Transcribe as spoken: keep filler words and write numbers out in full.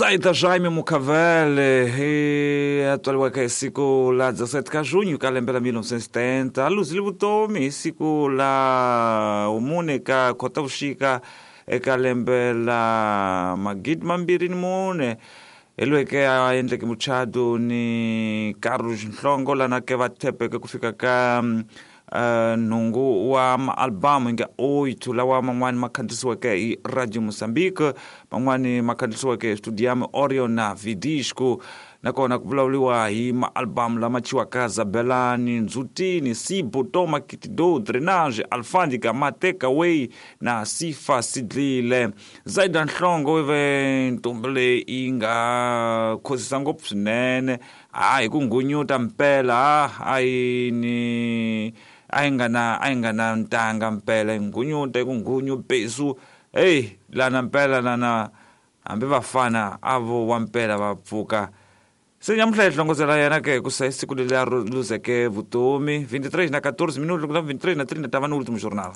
Zaida Jaime Mucavele hi a tswariweke hi siku la dezessete ka junho ka lembe la mil novecentos e setenta, a luzile vutomi hi siku la mune ka Khotavuxika eka lembe la magidi mambirhi ni mune, hi loyi a endleke muchato ni Carlos Nhlongo lana ke va thepeke ku fika ka uh, nhungu wa maalbamu hi nga oito lawa man'wani ma khandziyisiweke hi Radio Mozambique, man'wani ma khandziyisiweke hi Studium Orion na Vidisco. Nakona ku vulavuriwa hi maalbamu lama chiwaka Zabelani, Ndzutini, Sibo, Toma, Kitido, Drenage, Alfandika, Matekaway na Sifa Sidlile. Zaida Nhlongo i ve ntombi leyi yi nga khosisa ngopfu swinene, a hi ku ngunyuta mpela, a yi ni a yi nga na a yi nga na ntanga mpela, yi ngunyuta hi ku ngunyu besu. Hey, lana mpela lana hambi vafana a vo wa mpela va pfuka. Se nyamuhla hi hlongozela yena ke ku sa siku leri a luzeke vutomi vinte e três na quatorze minutos, loko na vinte e três na trinta tava no último jornal.